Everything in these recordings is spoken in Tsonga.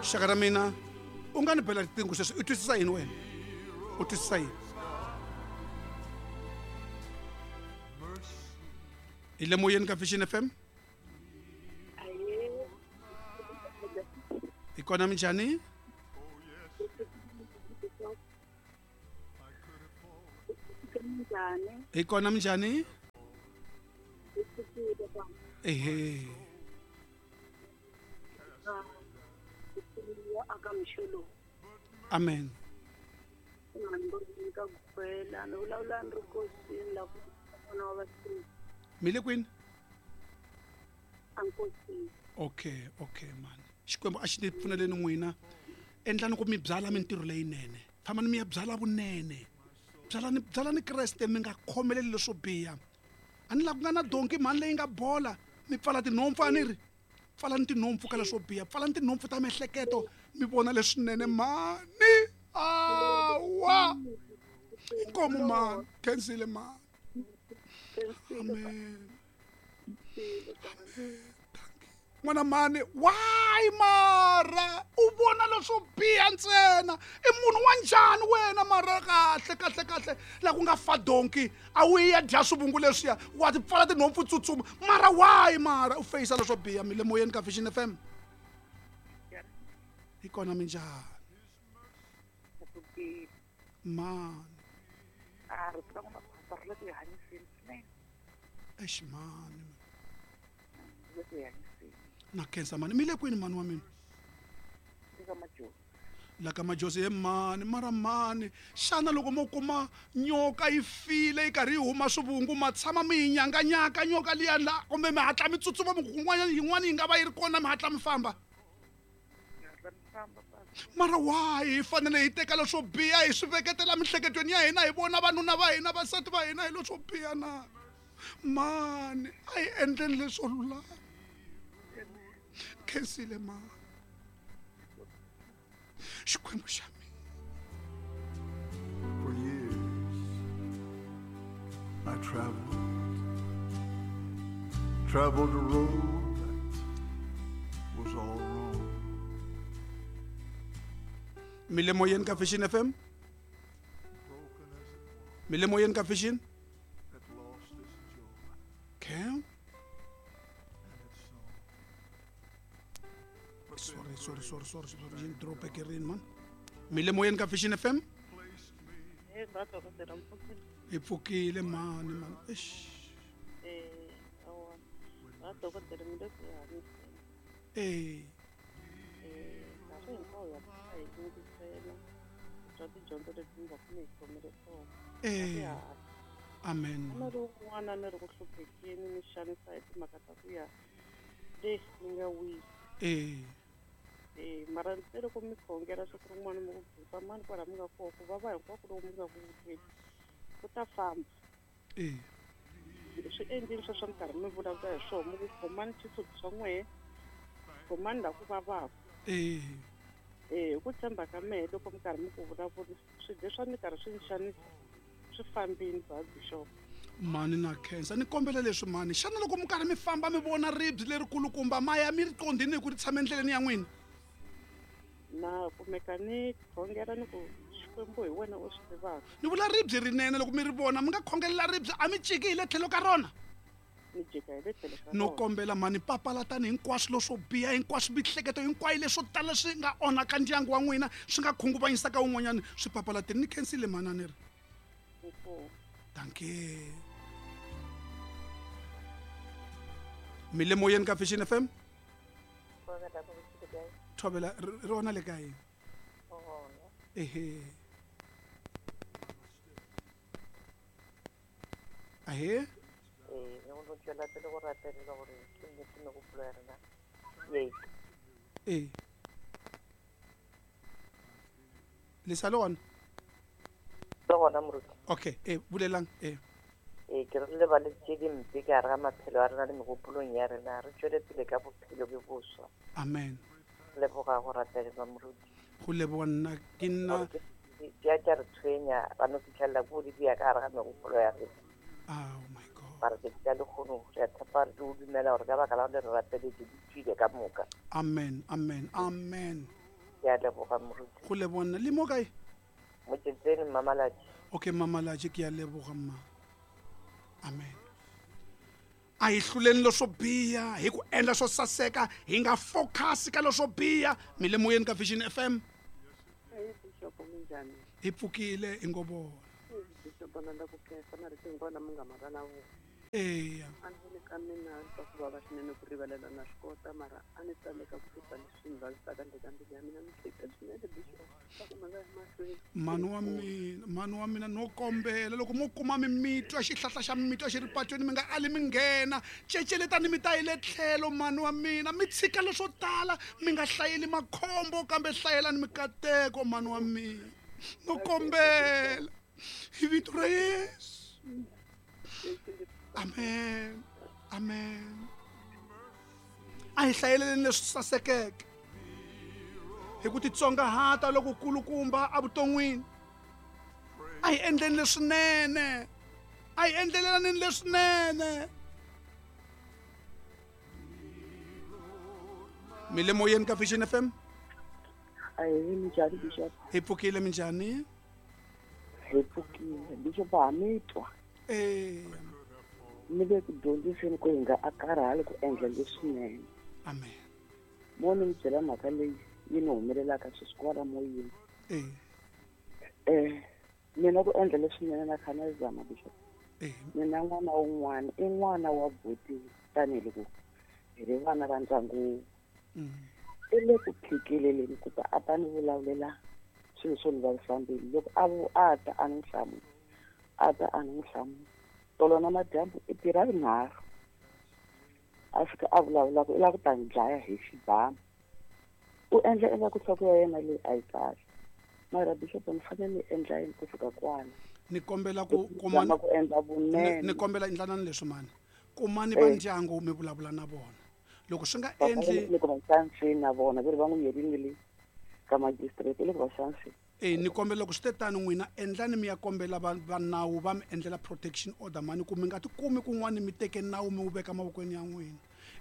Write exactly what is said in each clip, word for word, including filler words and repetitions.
Xaka ra mina u nga ni bela riqingho sweswi u twisisa yini wena u twisisa yini hi le moyeni ka Vision F M hi kona minjhani hi kona minjhani ehe amen mi le kwini okay okay mani Xikwembu a xi ni pfuneleni n'wina endlani ku mi byala mintirho leyinene fambani mi ya byala vunene byalani byalani Kreste mi nga khomeleli leswo biha a ni la ku nga na donki mhani leyi nga bola mi pfala tinhompfu a ni ri pfalani tinhompfu ka leswo biha pfalani tinhompfu ta miehleketo mi vona leswinene mhani awa inkomu mhani khensile mhani amen amen n'wana mhani why mara u vona leswo biha ntsena i munhu wa njhani wena mara kahle kahle kahle la ku nga fa donki a wu ya dya swivungu leswiya wa ti pfala tinhompfu tsutsuma mara why mara u feyisa leswo biha mi le moyeni ka Vision F M hi kona minjhani mani exi mani na khensa mani mi le kwini mani wa mina la ka Majozi he mani mara mani xana loko mo kuma nyoka yi file yi karhi yi huma swivungu ma tshama mi yi nyanganyaka nyoka liya la kumbe mi hatla mi tsutsuma mi kun'wanyana yin'wana yi nga va yi ri kona mi hatla mi famba mara why hi fanele hi teka leswo biha hi swi veketela miehleketweni ya hina hi vona vanuna va hina vasati va hina hi leswo biha na mani a hi endleni leswo lulama khensile mani Xikwembu xa mina. For years I traveled, traveled a road that was all wrong. Mi le moyeni ka Vision F M mi le moyeni ka Vision okay sorry sorry sorry sorry sorry yini drop ekerini man mi le moyeni ka Vision F M hi pfukile mani mani eish eh eh amen eh eh mara ntsena loko mi khongela siku rin'wana mi ku busa mani kwala mi nga kona ku vava hinkwako loko mi nga ku vuteli ku ta famba eh swi endlile sweswo mi karhi mi vulavula hi swona mi ku khomani xisuti swa n'wehe khomani laha ku vavaka eh eh hi ku tshemba ka mehe loko mi karhi mi ku vulavula swilo leswi a ni karhi swi ni xanisa swi fambini ba bishop mani na khensa ni kombela leswi mani xana loko mi karhi mi famba mi vona ribye lerikulukumba ma ya mi ri qondhini hi ku ri tshama endleleni ya n'wina na kumeka ni khongela ni ku Xikwembu hi wena u swi tivaka ni vula ribye rinene loko mi ri vona mi nga khongelela ribye a mi ciki hi le tlhelo ka rona ni jika hi le tlhelo ka no kombela mani papalatani hinkwaswo leswo biha hinkwaswo miehleketo hinkwayo leswo tala swi nga onhaka ndyangu wa n'wina swi nga khunguvanyisaka wun'wanyana swi papalateni ni khensile mani a ni ri dankie mi le moyeni ka Vision F M thobela ri ona le kae ehe ahe eh le sa le gona le gona moruti okay eh bulelang eh eh ke re lebale tše dimpe ka gare ga maphelo a rena le megopolong ya rena re tšwele pele ka bophelo bjo boswa amen leboga go ratelelwa moruti go leboga nna ke nna di a tša re tshwenya ba no fitlhelela ko di dia ka gare ga megopolo ya rena oh my god mara tšatši la lekgono re a tshepa re o dumela gore ka baka la gore re rapeletse di tswile ka moka amen amen amen Ke a leboga moruti. Go leboga nna le mo kae? Motsetseni Mmamalatši. Okay, Mmamalatši, ke a leboga mma. Amen. A hi hluleni leswo biha hi ku endla swo saseka, hi nga focus ka leswo biha. Mi le moyeni ka Vision F M. Hey, Bishop, minjhani? Hi pfukile i ngo vona. Bishop, na la ku khensa marito hinkwawo lama nga ma vulavula. Eya. A ni voni ka mina swa ku vava swinene ku rivalela na swi kota, mara a ni tsandzeka ku susa leswi ni vavisaka ndzeni ka mbilu ya mina. Ni hleketa swinene Bishop, swa ku ma nga ya mahlweni. Mhani wa mina, mhani wa mina, no kombela loko mo kuma mimitwa xihlahla xa mimitwa xi ri patweni mi nga ali mi nghena, ceceletani mi ta yi le tlhelo mhani wa mina, mi tshika leswo tala, mi nga hlayeli makhombo kambe hlayelani mikateko mhani wa mina. No kombela hi vito ra Yesu. Amen. Amen. A hi hlayeleni leswi sasekeke hi ku titsongahata loko kulukumba evuton'wini. A hi endleni leswinene, a hi endlelelaneni leswinene. Mi le moyeni ka Vision F M. Ahee, minjhani Bishop? Hi pfukile, minjhani? Hi pfukile Bishop, ha mi twa. Eya. Mi le ku dyondziseni ku hi nga a karhali ku endla leswinene. Amen. Mo ni mi byela mhaka leyi yi ni humelelaka sweswi kwala moyeni. Eh. Eh, mina ku endla leswinene na kha na zama Bishop. Eh. Mina n'wana wun'wana i n'wana wa buti tanihiloko hi ri vana va ndyangu. Mm. I le ku phikeleleni ku ta a ta ni vulavulela swilo swo ni vavisa mbilu. Loko a vu a ta a ni hlamula, a ta a ni hlamula. Tolo na madyambu i tirha rinharhu a fika a vulavula ku i lava ku ta ni dlaya hi xibamu. U endla ingaku nhloko ya yena leyi a yi kahle. Mara Bishop, ni fanele ni endla yini ku fika kwala? Ni kombela ku kuma ku endla vunene. Ni kombela endlanani leswi mani. Kumani va ndyangu mi vulavula na vona. Loko swi nga endli ni ku va xanseni na vona ve ri va n'wi yerile le ka magistrate le ku va xanseni. Eh, ni kombela loko swi te tano n'wina endlani mi ya kombela va va nawu va mi endlela protection order mani, ku mi nga tikumi kun'wana mi teke nawu mi wu veka mavokweni ya n'wina.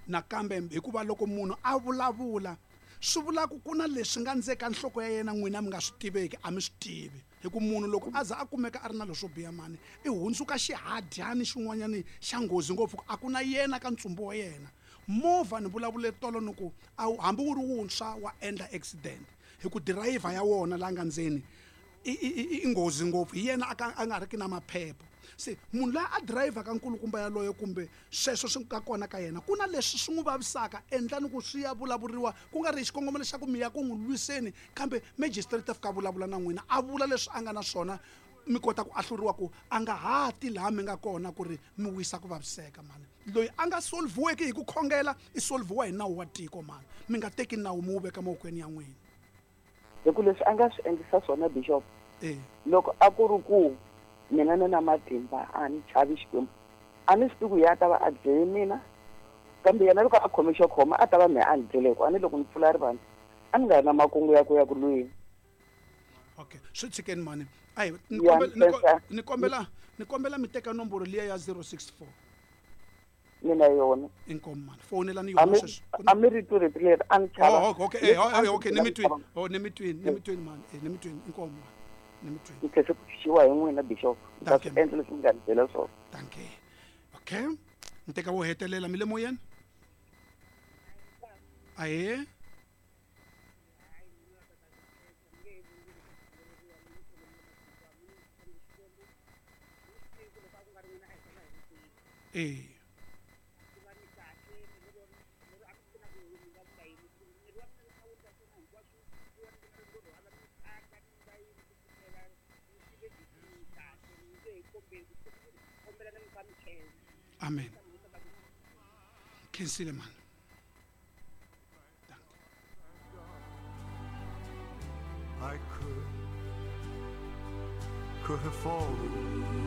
Nakambe hikuva loko munhu a vulavula swi vula ku ku na leswi nga ndzeka nhloko ya yena n'wina mi nga swi tiveki, a mi swi tivi. Hi ku munhu loko a za a kumeka a ri na leswo biha mani, i hundzuka xihadyani xin'wanyani xa nghozi ngopfu, a ku na yena ka ntsumbu wa yena. Movha ni vulavule tolo ni ku hambi wu ri wuntshwa wa endla accident hi ku dirayivha ya wona la nga ndzeni i i nghozi ngopfu, hi yena a nga ri ki na maphepha. Se munhu loyi a dirayivhaka nkulukumba yaloye kumbe sweswo swi nga kona ka yena ku na leswi swi n'wi vavisaka, endlani ku swi ya vulavuriwa ku nga ri hi xikongomelo xa ku mi ya ku n'wi lwiseni, kambe magistrate a fika vulavula na n'wina a vula leswi a nga na swona, mi kota ku ahluriwa ku a nga ha ti laha mi nga kona ku ri mi wisa ku vaviseka mani. Loyi a nga solviweki hi ku khongela i solviwa hi nawu wa tiko mani, mi nga teki nawu mi wu veka mavokweni ya n'wina. Hi ku leswi a nga swi endlisa swona Bishop, eh, loko a ku ri ku mina ni na matimba a ni chavi Xikwembu, a ni swi tivi ku ya ta va a dlele mina, kambe yena loko a khome xo khoma a ta va mehe a ni dlele, hikuva a ni loko ni pfula rivanti a ni nga ri na makungu ya ku ya ku lweni. Okay, swi tshikeni mani. Ayi, ni kombela ni kombela ni kombela mi teka nomboro liya ya zero six four. Mina yona. Inkomu mani, fonelani yona sweswi. A mi ri rito leri a ni chava. Oh, okay, eh, okay, ni mi twini. Oh, ni mi twini, ni mi twini mani. Eh, ni mi twini, inkomu mani. Ni mi twini. Ni tlhela ku xiwa hi n'wina Bishop. Ni ta swi endla leswi mi nga ni byela swona. Dankie. Okay. Ni teka wo hetelela mi le moyeni? Ahee. Eh. Amen. Khensile man. I could, could have fallen.